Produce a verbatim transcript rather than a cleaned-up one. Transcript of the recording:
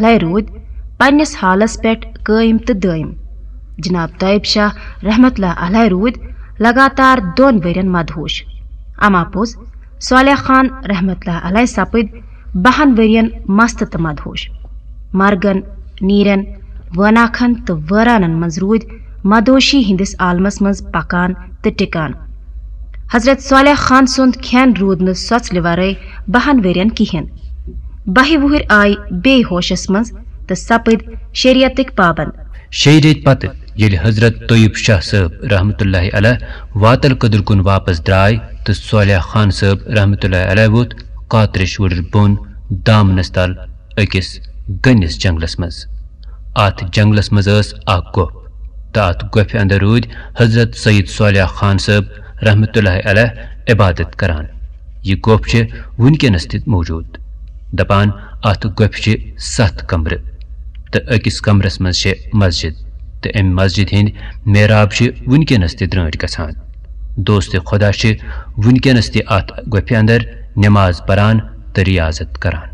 علیہ روٗدۍ پننِس حالس پٮ۪ٹھ قٲیِم تہٕ دٲیِم۔ جناب طیب شاہ رحمت اللہ علیہ روٗدۍ لگاتار دۄن ؤرین مدہوش۔ اما پوٚز، صالح خان رحمت اللہ علیہ سپٕدۍ بہن ؤرین مست تہٕ مدہوش۔ مرگن، نیرن، وٲناکھن تہٕ وٲرانن منٛز روٗدۍ مدہوشی ہٕنٛدِس عالمس منٛز پکان تہٕ ٹِکان۔ حضرت صالح خان سُنٛد کھٮ۪ن روٗد نہٕ سۄژلہِ ورٲے بہن ؤرین کِہینۍ۔ بہہِ وُہٕرۍ آیہِ بیٚیہِ ہوشس منٛز تہٕ سپٕدۍ شریعتٕکۍ پابند۔ شیٚیہِ ریٚتۍ پتہٕ ییٚلہِ حضرت طیب شاہ صٲب رحمت اللہ علیہ واتل قدر کُن واپس درٛاے تہٕ صالح خان صٲب رحمت اللہ علیہ ووٚتھ قاترِش وُڑٕر بۄن دامنس تل أکِس گٔنِس جنگلس منٛز۔ اتھ جنگلس منٛز ٲس اکھ گۄپھ تہٕ اتھ گۄپھِ اندر روٗدۍ حضرت سید صالح خان صٲب رحمت اللہ علیہ عبادت کران۔ یہِ گۄپھ چھِ وُنکیٚنس تہِ موجود۔ دپان، اتھ گۄپھِ چھِ ستھ کمرٕ تہٕ أکِس کمرس منٛز چھِ مسجد تہٕ امہِ مسجد ہٕنٛدۍ محراب چھِ وُنکیٚنس تہِ درٛٲنٹھۍ گژھان۔ دوست خدا چھِ وُنکیٚنس تہِ اتھ گۄپھِ اندر نماز پران تہٕ ریاضت کران۔